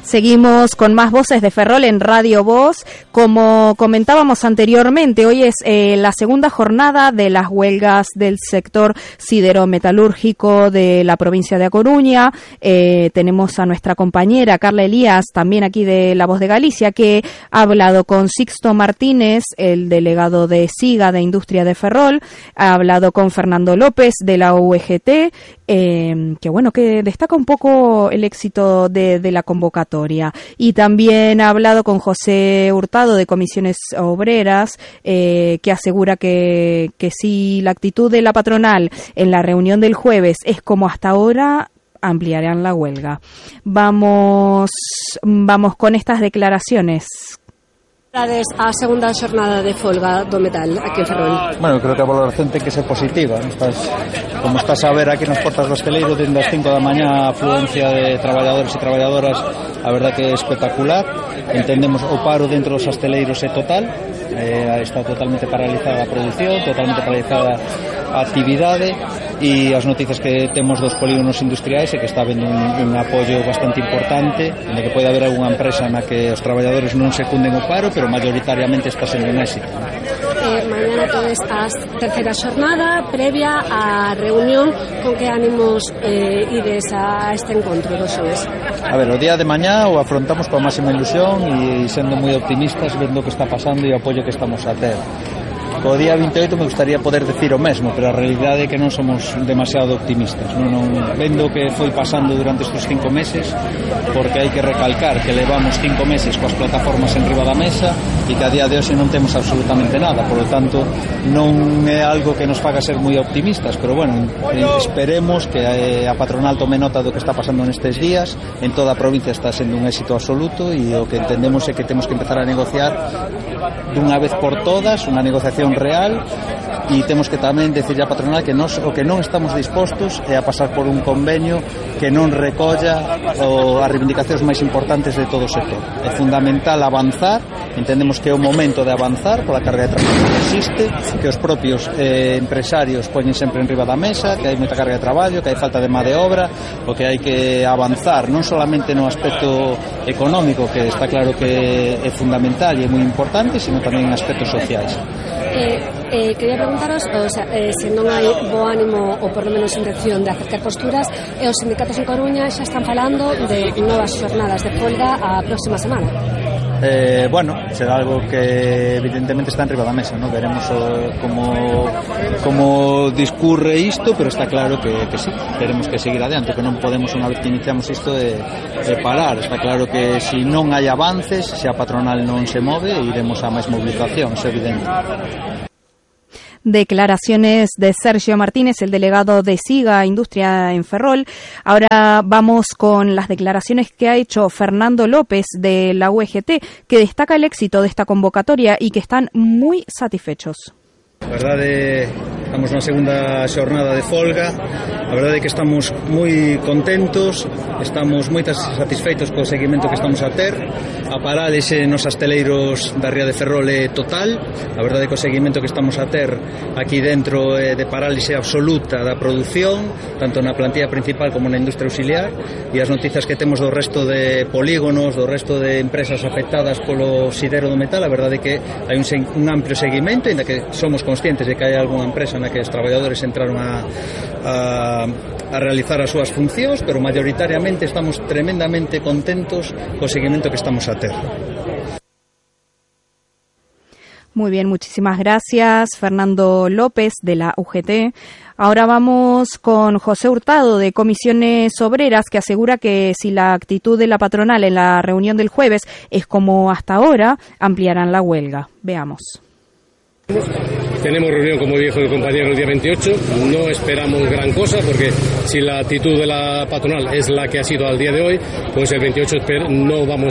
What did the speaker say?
Seguimos con más voces de Ferrol en Radio Voz. Como comentábamos anteriormente, hoy es la segunda jornada de las huelgas del sector siderometalúrgico de la provincia de A Coruña. Tenemos a nuestra compañera Carla Elías, también aquí de La Voz de Galicia, que ha hablado con Sixto Martínez, el delegado de SIGA de Industria de Ferrol, ha hablado con Fernando López de la UGT, que destaca un poco el éxito de la convocatoria. Y también ha hablado con José Hurtado de Comisiones Obreras, que asegura que si la actitud de la patronal en la reunión del jueves es como hasta ahora, ampliarán la huelga. Vamos con estas declaraciones. A segunda xornada de folga do metal aquí en Ferrol. Bueno, creo que a valoración ten que ser positiva. Como estás a ver aquí nas portas do hosteleiro, dende as 5 da mañá a afluencia de traballadores e traballadoras, a verdad que é espectacular. Entendemos o paro dentro dos hosteleiros é total, está totalmente paralizada a produción, totalmente paralizada a actividade, e as noticias que temos dos polígonos industriais é que está habendo un apoio bastante importante, en que pode haber algunha empresa na que os traballadores non secunden o paro, pero mayoritariamente está sendo un éxito. Mañana toda esta terceira xornada previa á reunión, con que ánimos ides a este encontro dos xoves? A ver, o día de mañá o afrontamos coa máxima ilusión e sendo moi optimistas, vendo o que está pasando e o apoio que estamos a ter. O día 28 me gustaría poder decir o mesmo, pero a realidade é que non somos demasiado optimistas. Non vendo o que foi pasando durante estes 5 meses, porque hai que recalcar que levamos 5 meses coas plataformas en riba da mesa e que a día de hoxe non temos absolutamente nada, por lo tanto non é algo que nos faga ser moi optimistas, pero bueno, esperemos que a patronal tome nota do que está pasando nestes días. En toda a provincia está sendo un éxito absoluto e o que entendemos é que temos que empezar a negociar dunha vez por todas, unha negociación real, e temos que tamén decirle á patronal que o que non estamos dispostos é a pasar por un convenio que non recolla as reivindicacións máis importantes de todo o sector. É fundamental avanzar, entendemos que é o momento de avanzar pola carga de traballo que existe, que os propios empresarios poñen sempre en riba da mesa, que hai moita carga de traballo, que hai falta de má de obra, o que hai que avanzar non solamente no aspecto económico, que está claro que é fundamental e é moi importante, sino tamén en aspectos sociais. Quería preguntaros, se non hai bo ánimo ou por lo menos intención de acercar posturas, e os sindicatos en Coruña xa están falando de novas xornadas de folga a próxima semana. Será algo que evidentemente está en riba da mesa, ¿no? Veremos como discurre isto, pero está claro que sí, teremos que seguir adiante, que non podemos, unha vez que iniciamos isto, de parar. Está claro que se non hai avances, se a patronal non se move, iremos a máis movilización, é evidente. Declaraciones de Sergio Martínez, el delegado de SIGA Industria en Ferrol. Ahora vamos con las declaraciones que ha hecho Fernando López de la UGT, que destaca el éxito de esta convocatoria y que están muy satisfechos. A verdade, estamos na segunda xornada de folga. A verdade é que estamos moi contentos, estamos moi satisfeitos co seguimento que estamos a ter. A parálise nos hosteleiros da ría de Ferrol é total. A verdade é que o seguimento que estamos a ter aquí dentro é de parálise absoluta da produción, tanto na plantilla principal como na industria auxiliar, e as noticias que temos do resto de polígonos, do resto de empresas afectadas polo sidero do metal, a verdade é que hai un amplio seguimento, ainda que somos conscientes de que hai algunha empresa na que os traballadores entraron a realizar as súas funcións, pero mayoritariamente estamos tremendamente contentos co seguimento que estamos a ter. Muy bien, muchísimas gracias, Fernando López de la UGT. Ahora vamos con José Hurtado de Comisiones Obreras, que asegura que si la actitud de la patronal en la reunión del jueves es como hasta ahora, ampliarán la huelga. Veamos. Tenemos reunión, como dijo el compañero, el día 28. No esperamos gran cosa, porque si la actitud de la patronal es la que ha sido al día de hoy, pues el 28 no vamos